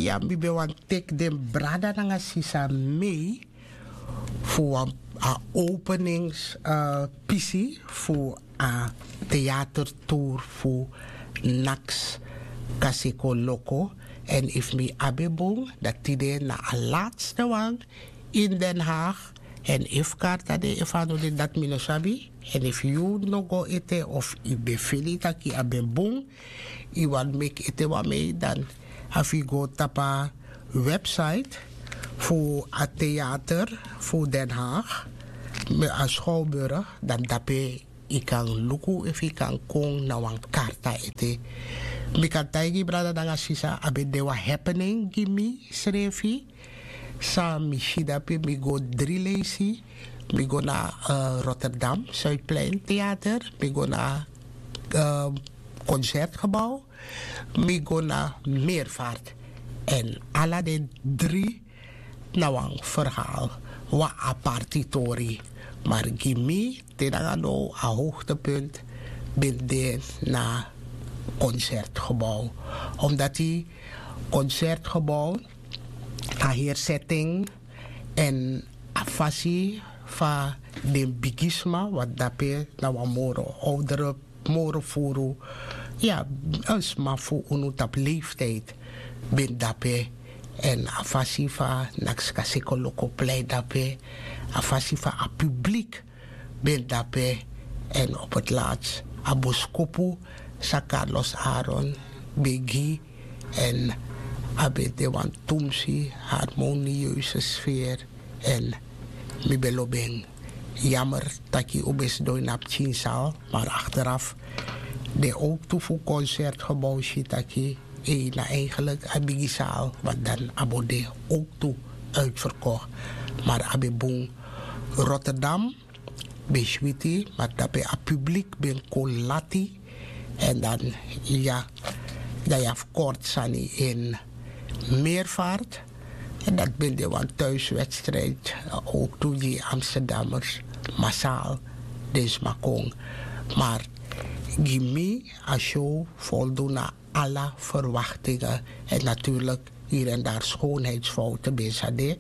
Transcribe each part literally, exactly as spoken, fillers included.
Ya, mi ben wani teki den brada nanga sisa mei fu wan a openings pisi fu a theatertour fu naks kaseko loko. Èn efu mi abi en bun, dan tide na a latste wan ini Den Haag. Èn efu karta de, efu a no de, dati mi no sabi. Èn efu yu no go ete of yu ben feni taki a ben bun, yu wani meki ete wan mei, dan a fu yu go tapu a website fu a theater fu Den Haag, a Schouwburg, dan dape yu kan luku efu yu kan kon na wan karta ete. Mi kan taigi brada nanga sisa, a ben de wan happening gi mi srefi. San mi si dape, mi go dri leisi. Mi go na Rotterdam Zuidplein Theater, mi go na Concertgebouw, mi go na Meervaart. Èn ala den dri na wan verhaal, wan aparti tori. Maar gi mi, te nanga now a hoogtepunt ben de na Concertgebouw. Omdat die Concertgebouw, a heri setting èn a fasi fa den bigisma, want dape na wan moro oudere, moro furu, ya, een sma fu unu tapu leeftijd ben dape. Èn a fasi fa Nakska Sekoloko plei dape, a fasi fa a publiek ben dape. Èn op het laatst a boskopu san Carlos Aaron ben gi, èn a ben de wan tumsi harmonieuze sfeer. Èn mi ben lobi en. Jammer taki un ben sidon ini a pikinzaal, maar achteraf den owktu fu Concertgebouw si taki ei, na eigenlijk a bigi zaal, want dan a bo de owktu uitverkocht. Maar a ben bun. Rotterdam ben switi, maar dape a publiek ben kon lati. Èn dan, ya, dan yu abi kort sani in Meervaart. Èn dati ben de wan thuiswedstrijd, owktu gi Amsterdammers massaal den sma kon. Maar gi mi, a show voldoen na ala verwachtingen. En natuurlijk hier en daar schoonheidsfouten ben sa de.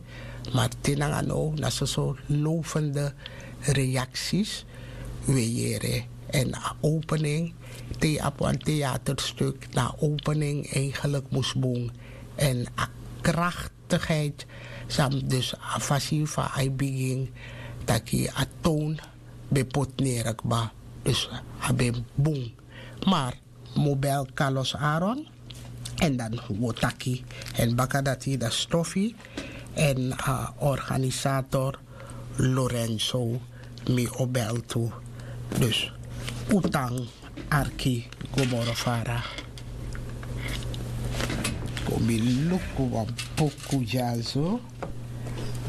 Maar te nanga now na soso lovende reacties we yere. En a opening, te yu abi wan theaterstuk, na a opening eigenlijk mus bun. En a krachtigheid san, dus a fasi fa a e bigin, taki a toon ben poti nere kba. Dus a ben bun. Maar mi o bel Carlos Aaron, en dan wi o taki. En baka dati dan Stoffie en a organisator Lorenzo, mi o bel tu. Dus un tan arki go moro fara. Kon mi luku wan poku dyaso.